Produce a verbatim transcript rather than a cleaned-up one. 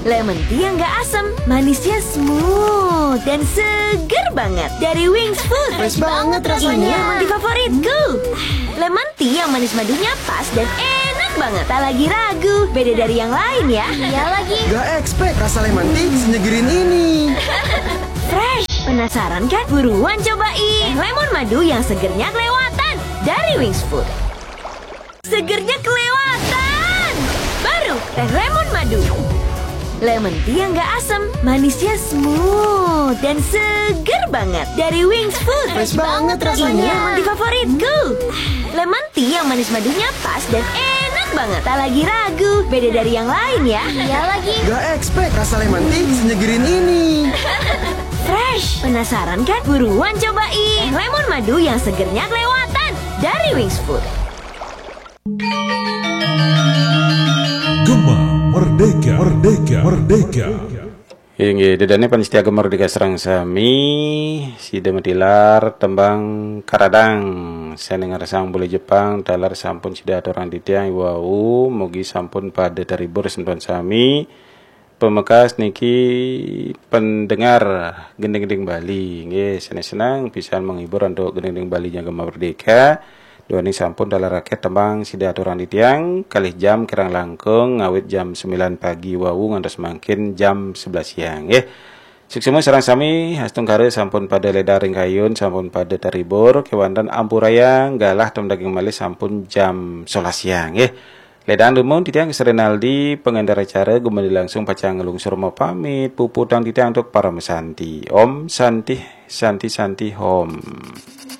Lemon tea yang gak asem, manisnya smooth dan seger banget dari Wings Food. Fresh banget rasanya. Ini yang favoritku. Lemon tea yang manis madunya pas dan enak banget. Tak lagi ragu, beda dari yang lain ya. Iya lagi. Gak expect rasa lemon tea senyegerin ini. Fresh. Penasaran kan? Buruan cobain. Lemon madu yang segernya kelewatan dari Wings Food. Segernya kelewatan. Baru teh lemon madu. Lemon tea yang gak asem, manisnya smooth dan seger banget dari Wings Food. Fresh banget Ini rasanya. yang favoritku. Lemon tea yang manis madunya pas dan enak banget. Tak lagi ragu, beda dari yang lain ya. Iya lagi. Gak expect rasa lemon tea senyegerin ini. Fresh. Penasaran kan? Buruan cobain. Lemon madu yang segernya kelewatan dari Wings Food. Gema Merdeka, Merdeka, Merdeka. Inggih, dedane panitia Gema Merdeka sareng sami, sida matilar tembang Karadang. Sane ngarsang bola Jepang, taler sampun sida aturang titiang wau, mugi sampun pada terhibur semeton sami. Pemekas niki pendengar gending-gending Bali, nggih, seneng-seneng pisan menghibur untuk gending-gending Bali Gema Merdeka. Duaning sampun taler raket tembang sida aturang titiang, kalih jam kirang langkung ngawit jam sembilan pagi wau ngantos mangkin jam sebelas siang, nggih. Suksma sareng sami, astungkara sampun pada ledar ring kayun, sampun pada terhibur, kewanten ampurayang galah tem daging malih sampun jam sebelas siang, nggih. Ledang dumun titiang Ks Rinaldi, pengendara acara, gumadi langsung pacang ngelungsur mapamit, puputang titiang untuk parama santi. Om Santi, Santi, Santi, Om.